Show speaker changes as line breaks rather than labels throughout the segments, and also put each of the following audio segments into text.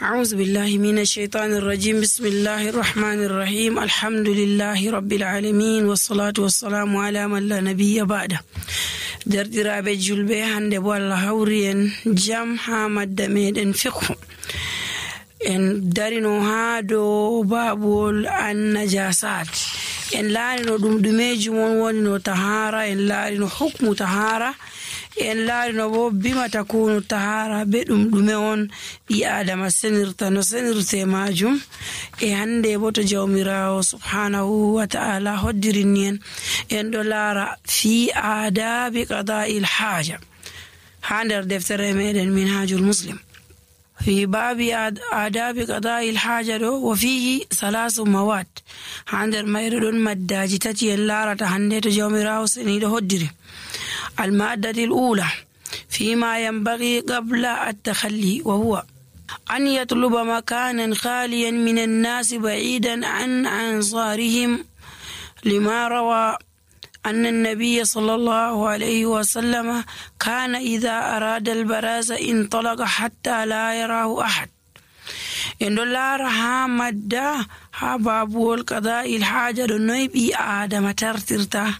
أعوذ بالله من الشيطان الرجيم. بسم الله الرحمن الرحيم. الحمد لله رب العالمين والصلاة والسلام على من لا نبي بعده. derdiraaɓe julɓe, hande bo Allah hawri en jam ha madda meɗen fiqhu. En darino ha dow babuwol annajasat. En laarino ɗum ɗumeji mon woni no tahara, en laarino hukmu tahara, en laarino bo bima takunu tahara be ɗum ɗume on ɓi adama senirta no senirte majum. E hande bo to jawmirawo subhanahu wa ta'ala hoddirini en ɗo laara fi adabi qada'il haja ha nder deftere meɗen minhajul muslim. في باب آداب قضاء الحاجة وفيه 3 مواد. هاندر ميردون مداجي تتي اللارة هندت جوميراو سنيد هدري. المادة الأولى فيما ينبغي قبل التخلي، وهو أن يطلب مكانا خاليا من الناس بعيدا عن أنصارهم، لما روى أن النبي صلى الله عليه وسلم كان إذا أراد البراز انطلق حتى لا يراه أحد. إن دولار ها مدى ها بابول قضاء الحاجة نويبي آدم ترترتا.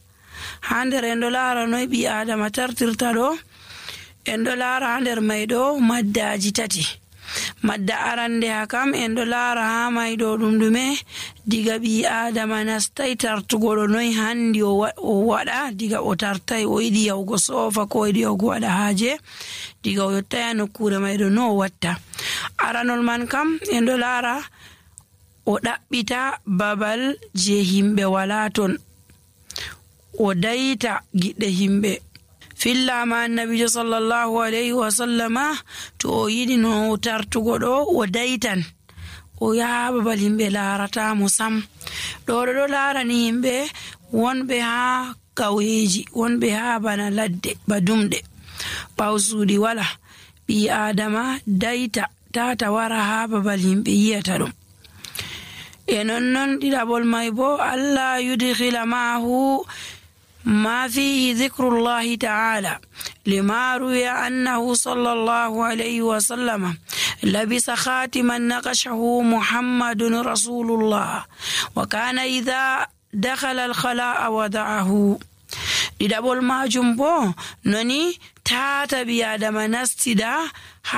هاندر إن دولار نويبي آدم ترترتا دو إن دولار هاندر ميدو مدى جتتي. madda arande hakam en ɗo laara ha mayɗo ɗum ɗume diga ɓi adama nastai tartugoɗo noy handi o waɗa diga o tartai o yiɗi yahugo sofa ko o yiɗi yahugo waɗa haaje diga o yottaya nokkure mayɗo no o watta. Aranol man kam en ɗo laara o ɗaɓɓita babal je himɓe wala ton, o dayita giɗɗe himɓe. fillama annabijo sallallahu alayhi wa sallama to o yiɗi no tartugo ɗo o daytan o yaha babal himɓe laarata mo sam. ɗo laarani himɓe wonɓe ha ƙauyeji, wonɓe ha bana ladde ba dumɗe ɓaw suuɗi wala. ɓi adama dayta tata wara ha babal himɓe yiyata ɗum. E nonnon ɗiɗaɓol may bo Allah yudkhila ma'ahu ما فيه ذكر الله تعالى، لما روي أنه صلى الله عليه وسلم لبس خاتما نقشه محمد رسول الله، وكان إذا دخل الخلاء وضعه. ɗiɗaɓol majum bo noni tata ɓi adama nastida